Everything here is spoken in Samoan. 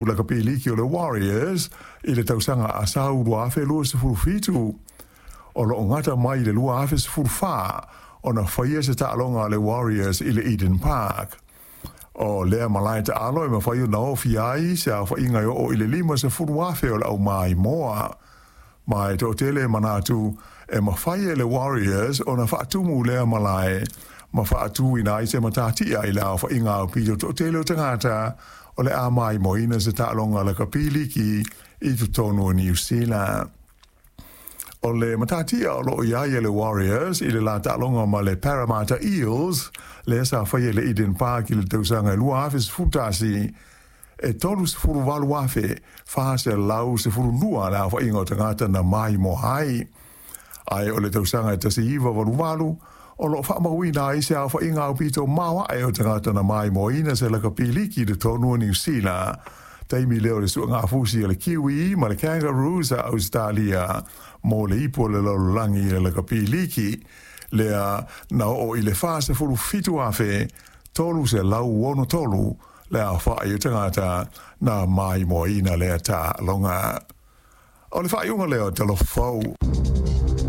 Lakapi Liki o le Warriors i le tausaga a sau 2027. O loo gata mai i le 2014 ona faia se taaloga a le Warriors i le Eden Park. O lea malae taalo e mafai ona ofi ai se aofaiga e oo i le 50,000 o le aumaimoa. Ma e toatele e manatu e mafai e le Warriors ona faatumu lea malae ma faatuina ai se matatia i le aofaiga aupito toatele o tagata o le a maimoaina se taaloga lakapi liki i totonu o Niu Sila. O le matatia o loo i ai e le Warriors i le la taaloga ma le Parramatta Eels, lea sa faia i le Eden Park i le tausaga e 2011, e 38,412 le aofaiga o tagata na maimoa ai. Ae o le tausaga e 1988 o loo faamauina ai se aofaiga aupito maoae o tagata na maimoaina se lakapi liki i totonu o Niu Sila. Taimi lea o le suegafusi a le Kiwi ma le Kangaroos a Ausetalia mo le ipu o le lalolagi i le lakapi liki, lea na oo i le 47,363 le aofai o tagata na maimoaina lea taaloga. O le faaiuga lea o Talofa Fou.